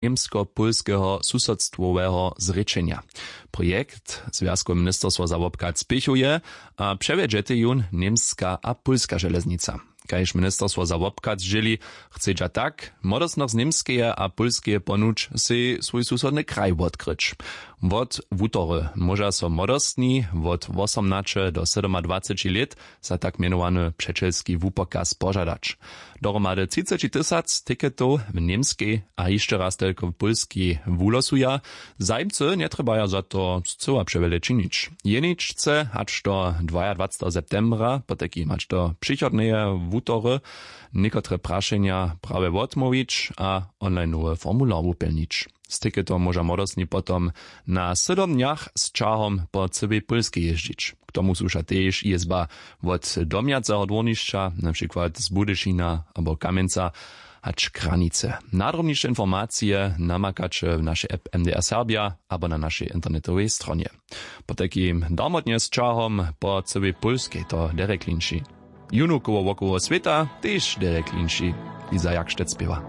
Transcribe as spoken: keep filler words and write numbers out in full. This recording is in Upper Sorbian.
němsko-pólskeho susodstwoweho zrěčenja. Projekt zwjazkowe ministerstwo za wobchad spěchuje a přewjedźetej jón němska a pólska železnica. Kaž ministerstwo za wobchad zdźěli, chcedźa tak młodostnych z němskeje a pólskeje ponuć sej swój susodny kraj wotkryć. Wot wutory móža so młodostni wot wosomnaće do sydomadwaceći lět za tak mjenowany přećelski wupokaz požadać. Dohromady třiceći tysac tiketow w němskej a hišće raz telko w pólskej wulosuja. Zajimcy njetrjebaja za to scyła přewjele činić. Jeničce hač do dwajadwacteho septembra, potajkim hač do přichodneje wutory, někotre prašenja prawje wotmołwić a onlineowy formular wupjelnić. Z tiketom móža młodostni potom na sydom dnjach z ćahom po cyłej pólskej jězdźić. K tomu słuša tež jězba wot domjaceho dwórnišća, na přikład z budyšina abo kamjenca, hač kranice. Nadrobniše informacije namakaće w našej app mdr serbja abo na našej internetowej stronje. Potajkim darmotnje z ćahom po cyłej pólskej to derek linši. Junukowo wokoło swěta tež derek linši. Liza jakštec spěwa.